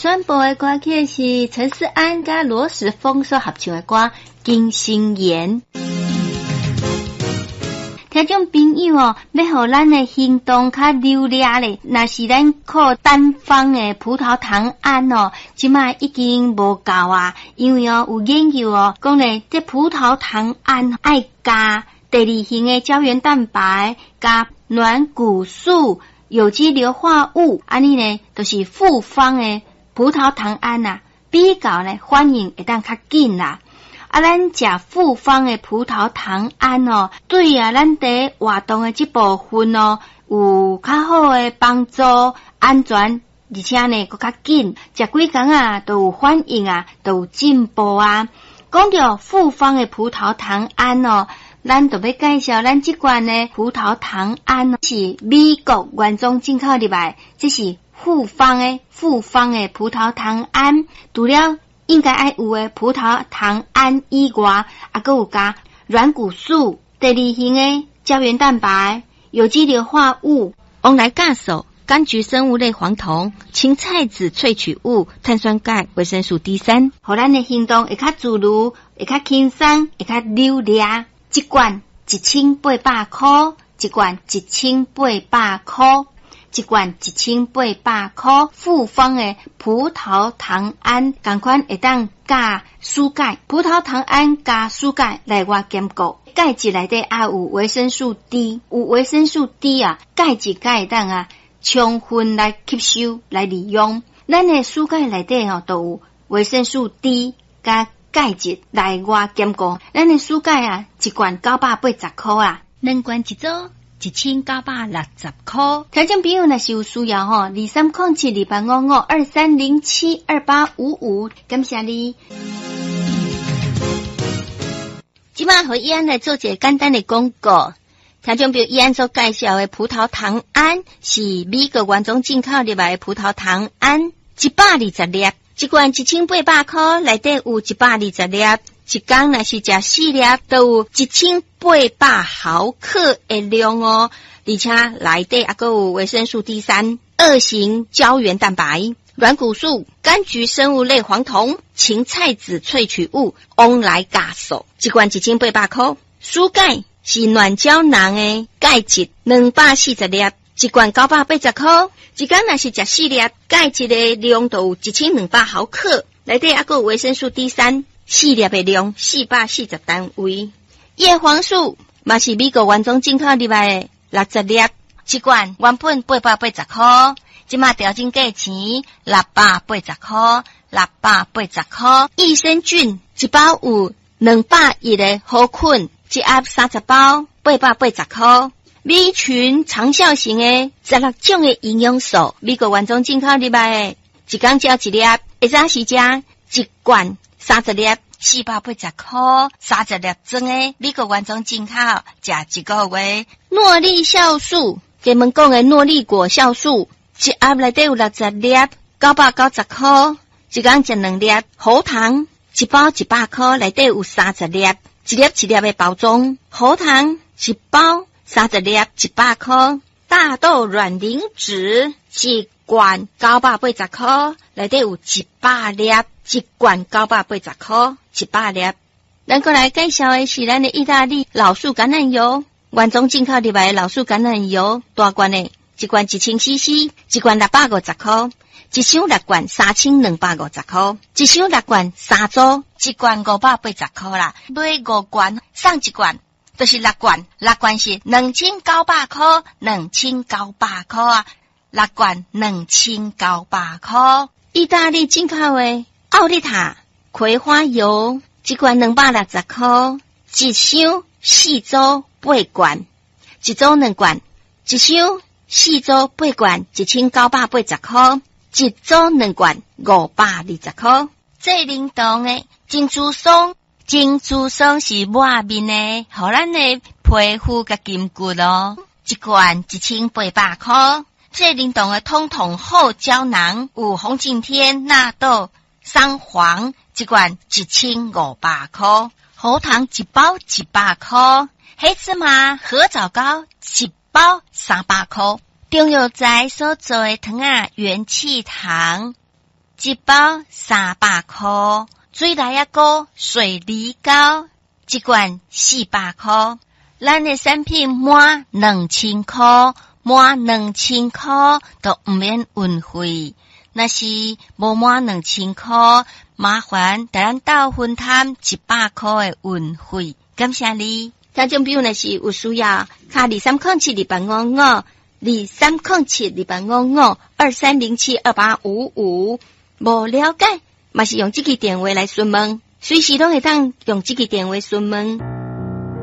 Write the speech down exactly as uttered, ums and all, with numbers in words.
宣布的歌曲是陳勢安佮羅時豐所合唱的歌《金星言》。聽眾朋友哦，欲予咱的行動較流利咧，若是咱靠單方的葡萄糖胺哦，這擺已經無夠啊，因為哦有研究哦，講咧這葡萄糖胺愛加第二型的膠原蛋白，加軟骨素、有機硫化物，按呢呢，就是複方的葡萄糖胺啊，比較呢反應會當較緊啦。啊，咱食複方的葡萄糖胺哦，對啊，咱佇活動的這部分哦，有較好的幫助，安全，而且呢，閣較緊，食幾工啊，都有反應啊，都有進步啊。講著複方的葡萄糖胺哦，咱就欲介紹咱這罐的葡萄糖胺是美國原裝進口入來，這是複方的複方的葡萄糖胺，除了應該愛有的葡萄糖胺以外，啊，閣有加軟骨素、第二型的膠原蛋白、有機硫化物、王來鉀素、柑橘生物類黃酮、芹菜籽萃取物、碳酸鈣、維生素 D 三，予咱的行動會較自如，會較輕鬆，會較流利。一罐一千八百箍，一罐一千八百箍。一罐一千八百箍，複方的葡萄糖胺，仝款會當佮舒鈣，葡萄糖胺佮舒鈣內外兼顧。鈣質內底也有維生素 D，有維生素 D 啊，鈣質才會當啊充分來吸收來利用。咱的舒鈣內底吼都有維生素 D 佮鈣質內外兼顧。咱的舒鈣啊，一罐九百八十箍啊，兩罐一組。一千九百六十箍。聽眾朋友若是有需要吼，二三空七二八五五二三零七二八五五，感謝你。這擺予伊安來做一個簡單的廣告。聽眾朋友，伊安所介紹的葡萄糖胺是美國原裝進口入來的葡萄糖胺，一百二十粒，一罐一千八百箍，內底有一百二十粒。一工若是食四粒，都有一千八百毫克的量哦。而且內底猶閣有維生素 D 三、二型膠原蛋白、軟骨素、柑橘生物類黃酮、芹菜籽萃取物、王來鉀素，一罐一千八百箍。舒鈣是軟膠囊的鈣質，兩百四十粒，一罐九百八十箍。一工若是食四粒，鈣質的量都有一千兩百毫克，內底猶閣有維生素 D 三。四粒的量四百四十單位，葉黃素嘛是美國原裝進口入來的六十粒，一罐原本八百八十箍，這擺調整價錢六百八十箍，六百八十箍。益生菌一包有兩百億的好菌，一盒三十包，八百八十箍。米群長效型的十六種的營養素，美國原裝進口入來的，一工食一粒，會早時食一罐。三十粒，四百八十箍，三十粒裝的美國原裝進口，食一個月。諾麗酵素，專門講的諾麗果酵素，一盒內底有六十粒，九百九十箍，一工食兩粒。喉糖一包一百箍，內底有三十粒，一粒一粒的包裝。喉糖一包三十粒，一百箍。大豆卵磷脂一罐九百八十箍，內底有一百粒。一罐九百八十箍，一百粒。咱閣來介紹的是咱的意大利老樹橄欖油，原裝進口入來的老樹橄欖油，大罐的，一罐一千 C C，一罐六百五十箍，一箱六罐三千兩百五十箍，一箱六罐三組，一罐五百八十箍啦，買五罐送一罐，就是六罐，六罐是兩千九百箍，兩千九百箍啊，六罐兩千九百箍，意大利進口的。奧利塔葵花油一罐兩百六十箍，一箱四組八罐，一組兩罐，一箱四組八罐一千九百八十箍，一組兩罐五百二十箍。這靈動的珍珠霜，珍珠霜是抹面的，予咱的皮膚佮筋骨咯。一罐一千八百箍。這靈動的通通好膠囊，有紅景天、納豆。桑黃一罐一千五百箍，喉糖一包一百箍，黑芝麻褐藻膏一包三百箍。中藥材所做的糖仔元氣糖。一包三百箍，水內仔膏、水梨膏一罐四百箍。咱的產品滿兩千箍，滿兩千箍都毋免運費。若是無滿兩千箍，麻煩共咱鬥分擔一百箍的運費。感謝你。聽眾朋友若是有需要，敲二三空七二八五五，二三空七二八五五，二三零七二八五五。無了解，嘛是用這支電話來詢問，隨時攏會當用這支電話詢問。